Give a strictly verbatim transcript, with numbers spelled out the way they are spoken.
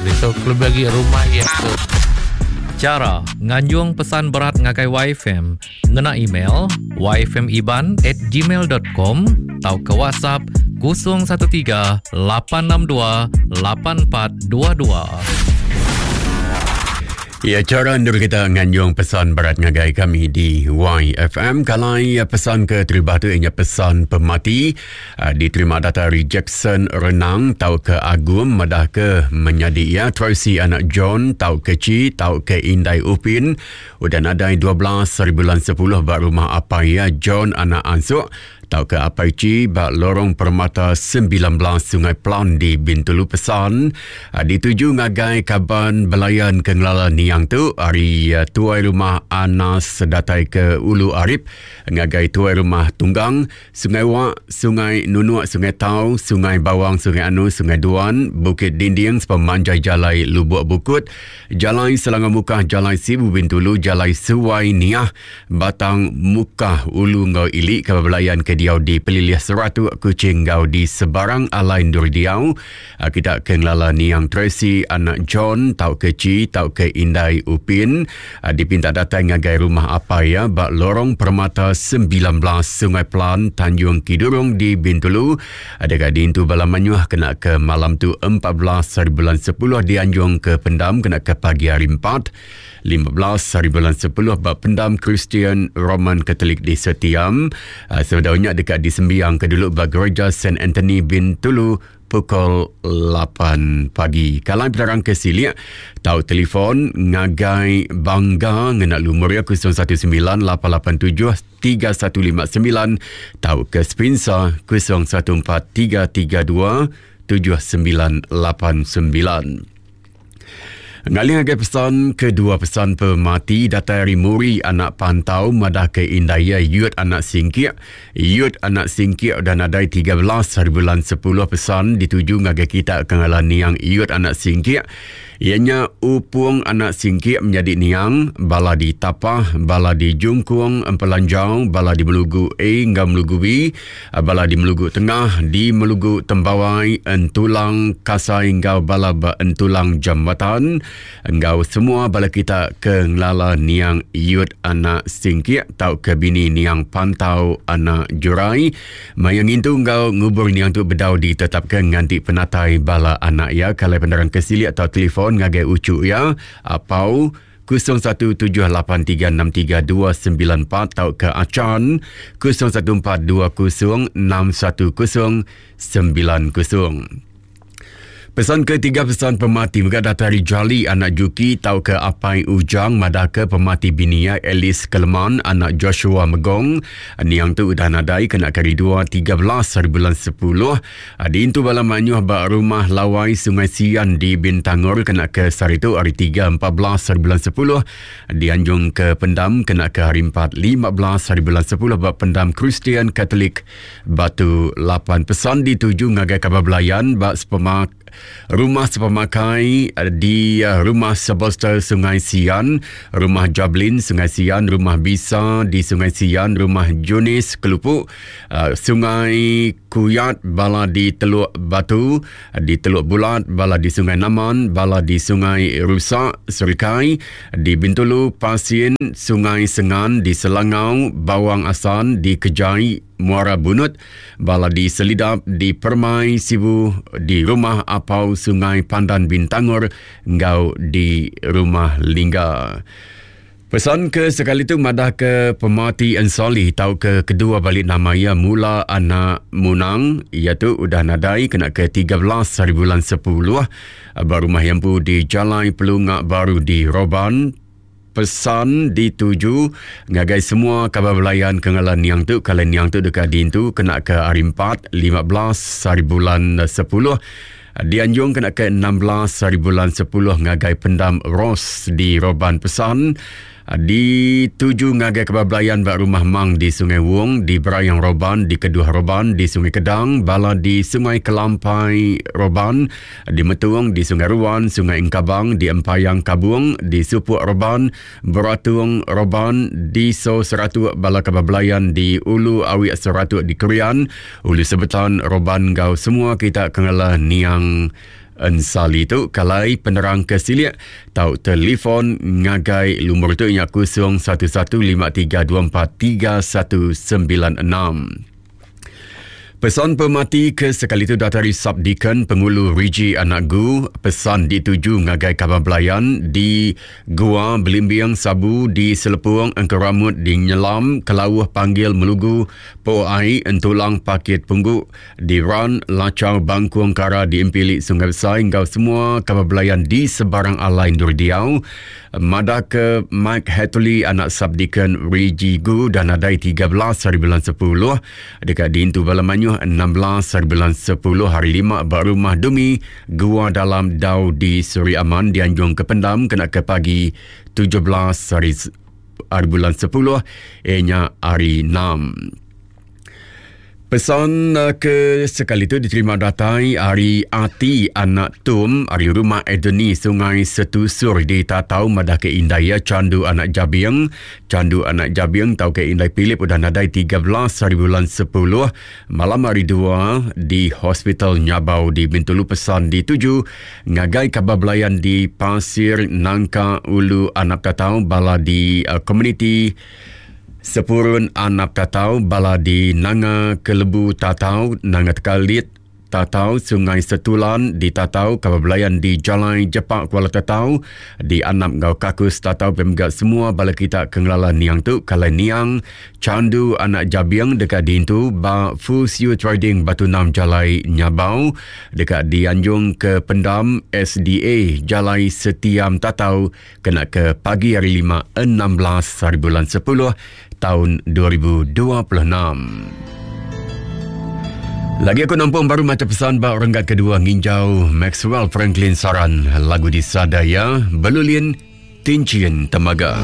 Ditu kelebih agi rumah iya tu. Chara nganjung pesan berat ngagai Y F M ngena email y f m iban at gmail dot com tau ke WhatsApp kosong satu tiga lapan enam dua lapan empat dua dua. Ya, cara ndur kita nganjung pesan berat ngagai kami di Y F M. Kalau pesan ke terima tu ianya pesan pemati, uh, diterima data dari Jackson Renang tau ke Agum madah ke menyadi ya Tracy anak John tau ke Ci tau ke Indai Upin udah nadai dua belas hari bulan sepuluh ba rumah apai ya John anak Ansuk tau ke Apai Ci ba Lorong Permata sembilan belas Sungai Pelan di Bintulu. Pesan uh, dituju ngagai kaban belayan ke ngelala niang tu hari uh, tuai rumah Anas datai ke Ulu Arip ngagai tuai rumah Tunggang Sungai Wak, Sungai Nunuk, Sungai Tau, Sungai Bawang, Sungai Anu, Sungai Duan, Bukit Dinding sepemanjai Jalai Lubuk Bukut, Jalai Selangor Mukah, Jalai Sibu Bintulu, Jalai Suai Niah, Batang Mukah, Ulu Ngau Ili, kaban belayan ke diau di Pelilih Seratuk, Kuching ngau di sebarang alai ndur diau. Kita ke ngelala niang Tracy anak John tau ke Ci tau ke Indai Upin dipinta datang ngagai rumah apai ya ba Lorong Permata sembilan belas Sungai Pelan, Tanjung Kidurong di Bintulu. Ada dintu bala manyuh kena ke malam tu empat belas hari bulan sepuluh dianjung ke pendam kena ke pagi hari empat lima belas hari bulan sepuluh ba pendam Kristian Roman Katolik di Setiam. Sebedaunya dekat di Sembiang ke dulu ba Gereja Saint Anthony Bintulu pukul lapan pagi. Kalau penerang ke silik, tau telefon ngagai Bangga ngena lumur ya kosong satu sembilan lapan lapan tujuh tiga satu lima sembilan, tau ke Spinsa kosong satu empat tiga tiga dua tujuh sembilan lapan sembilan. Ngalih ngagai pesan kedua pesan pemati datai dari Muri anak Pantau madah ke Indaya Yut anak Singkik. Yut anak Singkik dan nadai tiga belas hari bulan sepuluh pesan dituju ngagai kita kengalan niang Yut anak Singkik. Ianya Upung anak Singkik menjadi niang, bala di Tapah, bala di Jungkung, Empelanjau, bala di Melugu A hingga Melugu B, bala di Melugu Tengah, di Melugu Tembawai, Entulang Kasai hingga bala ba Entulang Jambatan. Engkau semua bala kita ke ngelala niang Yut anak Singkik tau ke bini niang Pantau anak Jurai. Maya ngintu engkau ngubur niang tu bedau ditetapkan nganti penatai bala anak ya. Kalau penerang kesilik atau telefon ngagai ucu ya apau kosong satu tujuh lapan tiga enam tiga dua sembilan empat tau ke Acan kosong satu empat dua kosong enam satu kosong sembilan kosong. Pesan ketiga pesan pemati mega datari Jali anak Juki tau ke Apai Ujang madah ke pemati binia Alice Keleman anak Joshua Megong. Niang tu udah nadai kena kari dua tiga belas hari bulan sepuluh. Diintu bala manyuh ba rumah Lawai Sungai Sian di Bintangor kena ke sehari tu hari tiga empat belas hari bulan sepuluh. Dianjung ke pendam kena ke hari empat lima belas hari bulan sepuluh ba pendam Kristian Katolik Batu Lapan. Pesan dituju ngagai kabar belayan ba sepemak Rumah Sepemakai di Rumah Sebostel Sungai Sian, Rumah Jablin Sungai Sian, Rumah Bisa di Sungai Sian, Rumah Junis Kelupuk, Sungai Kuyat, bala di Teluk Batu, di Teluk Bulat, bala di Sungai Naman, bala di Sungai Rusak, Serikai, di Bintulu, Pasien, Sungai Sengan, di Selangau, Bawang Asan, di Kejai, Muara Bunut, bala di Selidap, di Permai Sibu, di Rumah Apau Sungai Pandan Bintangor, ngau di Rumah Lingga. Pesan ke sekali tu madah ke pemati Ensali tau ke kedua balik nama ia mula anak Munang, ia tu udah nadai kena ke tiga belas hari bulan sepuluh baru rumah yang pu di Jalai Pelungak Baru di Roban. Pesan dituju ngagai semua kabar belayan kengalan niang tu. Kalau niang tu dekat dintu kena ke hari empat lima belas hari bulan sepuluh. Dianjung kena ke enam belas hari bulan sepuluh ngagai pendam Ros di Roban. Pesan dituju ngagai kabar belayan bak rumah Mang di Sungai Wong, di Berayang Roban, di Keduh Roban, di Sungai Kedang, bala di Sungai Kelampai Roban, di Metung, di Sungai Ruan, Sungai Engkabang, di Empayang Kabung, di Supuk Roban, Beratung Roban, di So Seratuk, bala kabar belayan di Ulu Awik Seratuk di Krian, Ulu Sebetan Roban. Gau semua kita kenala niang Ensali tu kalai penerang ke silik tau telefon ngagai lumur tu nya kosong satu satu lima tiga dua empat tiga satu sembilan enam. Pesan pemati ke sekali itu datari Subdeacon Pengulu Riji Anak Gu. Pesan dituju ngagai kaban belayan di Gua Belimbing Sabu di Selepung Engkeramut di Nyelam Kelauh Panggil Melugu Po Ai Entulang Pakit Punggu di Ran Lacau Bangkung Kara di Empilik Sungai Besai enggau semua kaban belayan di sebarang alai endur diau. Madah ke Mike Hatley anak Subdeacon Riji Gu dan adai tiga belas hari bulan sepuluh dekat diintu bala manyuh enam belas hari bulan sepuluh hari lima ba rumah Dumi Gua Dalam Dau di Suri Aman dianjung ke pendam kena ke pagi tujuh belas hari, hari bulan sepuluh ianya hari enam. Pesan ke sekali itu diterima datai hari Ati Anak Tum hari rumah Edeni Sungai Setusur di Tatau madah ke indai ya Candu Anak Jabiang. Candu Anak Jabiang tau ke indai Philip udah nadai tiga belas hari bulan sepuluh malam hari dua di Hospital Nyabau di Bintulu. Pesan dituju ngagai kabar belayan di Pasir Nangka Ulu Anak Tatau bala di uh, komuniti Sepurun Anak Tatau bala di Nanga Kelebu Tatau Nanga Tekalit Tatau Sungai Setulan di Tatau kabar belayan di Jalai Jepak Kuala Tatau di Anap Ngau Kakus Tatau pemgak semua bala kita kengelala niang tu kalai niang Candu Anak Jabiang dekat diintu ba Fusiu Trading Batu Enam Jalai Nyabau dekat dianjung ke Pendam S D A Jalai Setiam Tatau kena ke pagi hari lima enam belas hari bulan sepuluh tahun dua ribu dua puluh enam. Lagi aku nampung baru macam pesan bak renggat kedua nginjau Maxwell Franklin Saran lagu di Sadaya Belulin Tincin Temaga.